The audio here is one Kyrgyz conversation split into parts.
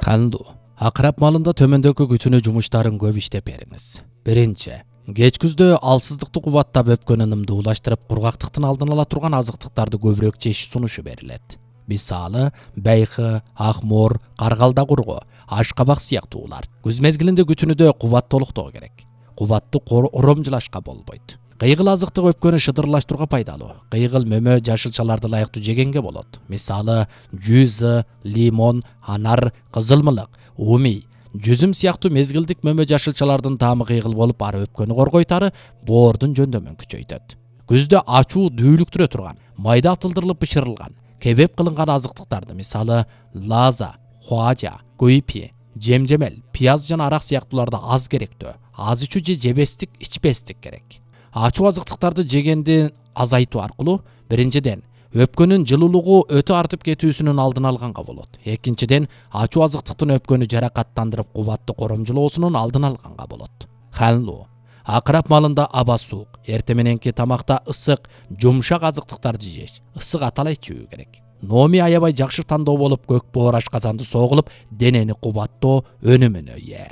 Кандуу. Акырап малында төмөндөгү күтүнүү жумуштарын көп иштеп бериңиз. Биринчи, кеч күздө алсыздыкты кубаттап өпкөн ынымды улаштырып, кургактыктын алдын ала турган азыктыктарды көбүрөөк жеш сунушу берилет. Мисалы, байкы, акмор, каргалда кургу, ашкабак сыяктуулар. Күз мезгилинде күтүнүдө кубат толуктоо керек. Кубатты оромжулашка болбойт. Кыйгыл азыктык өпкөнү шыдырлаштырууга пайдалуу. Кыйгыл мөмө жашылчаларды ылайыктуу жегенге болот. Мисалы, жүзү, лимон, анар, кызылмылык, умий, жүзүм сыяктуу мезгилдик мөмө жашылчалардын таамы кыйгыл болуп, ары өпкөнү коргойт, ары боордун жөндөмүн күчөйтөт. Күздө ачуу дүүлүктүрө турган, майда атылдырылып бышырылган, кебеп кылынган азыктыктарды, мисалы, лаза, хуажа, куйпи, жемжемел, пияз жана арак сыяктууларды аз керектөө. Аз ичүү же жебестик, ичпестик керек. Ачуу азыктыктарды жегенди азайтуу аркылуу биринчиден өпкөнүн жылуулугу өтө артып кетүүсүнүн алдын алганга болот. Экинчиден ачуу азыктыктын өпкөнү жаракаттандырып, кубатты коромжулоосунун алдын алганга болот. Ханлуу. Акырап малында аба суук, эрте мененки тамакта ысык, жумшак азыктыктарды жеш, ысык атала ичүү керек. Номи аябай жакшы тандоо болуп, көк боор ашказанды согулуп, денени кубаттоо өнүмүнө ээ.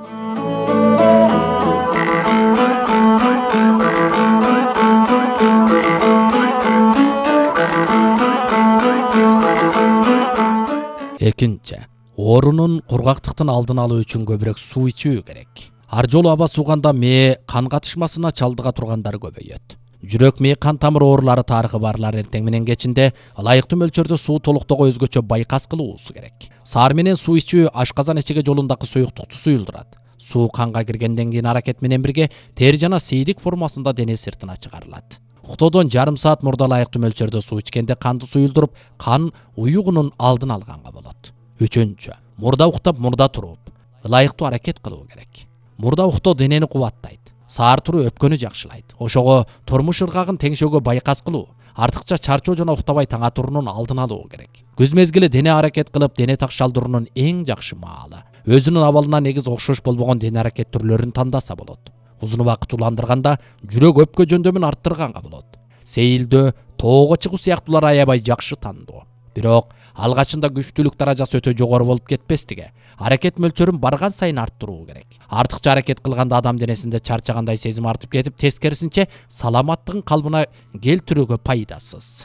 Экинчи, оорунун, кургактыктын алдын алуу үчүн көбүрөөк суу ичүү керек. Ар жолу аба сууганда мээ кан катышмасына чалдыга тургандар көбөйөт. Жүрөк мээ кан тамыр оорулары тарыхы барлар эртең менен кечинде ылайыктуу мөлчөрдө суу толуктоого өзгөчө байкас кылуусу керек. Саар менен суу ичүү ашказан эчеге жолундагы суюктукту суюлдурат. Суу канга киргенден кийин аракет менен бирге тери жана сейдик формасында дене сыртына чыгарылат. Уктоодон жарым саат мурда ылайыктуу мөлчөрдө суу ичкенде канды суюлдуруп, кан уюгунун алдын алганга болот. Үчүнчү, мурда уктап, мурда туруп, ылайыктуу аракет кылуу керек. Мурда уктоо денени кубаттайт. Саар туруу өпкөнү жакшылайт. Ошого турмуш ыргагын теңшөөгө байкас кылуу, артыкча чарчоо жана уктабай таң атуунун алдын алуу керек. Күз мезгили дене аракет кылып, дене такшалдыруунун эң жакшы маалы. Өзүнүн абалына негиз окшош болбогон дене аракет түрлөрүн тандаса болот. Узун убакыт уландырганда жүрөк өпкө жөндөмүн арттырганга болот. Сейилдөө, тоого чыгуу сыяктуулар аябай жакшы тандоо. Бирок алгачында күчтүүлүк даражасы өтө жогору болуп кетпестиге, аракет мөлчөрүн барган сайын арттыруу керек. Артыкча аракет кылганда адам денесинде чарчагандай сезим артып кетип, тескерисинче саламаттыгын калыбына келтирүүгө пайдасыз.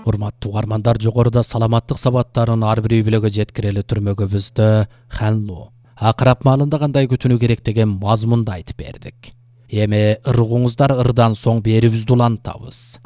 Урматтуу угармандар, жогоруда саламаттык сабаттарын ар бир үй-бүлөгө жеткирели түрмөгүбүздө Ханлуу акырап маалында кандай күтүнүү керек деген мазмунду айтып бердик. Эми ыргууңуздар ырдан соң берибизди улантабыз.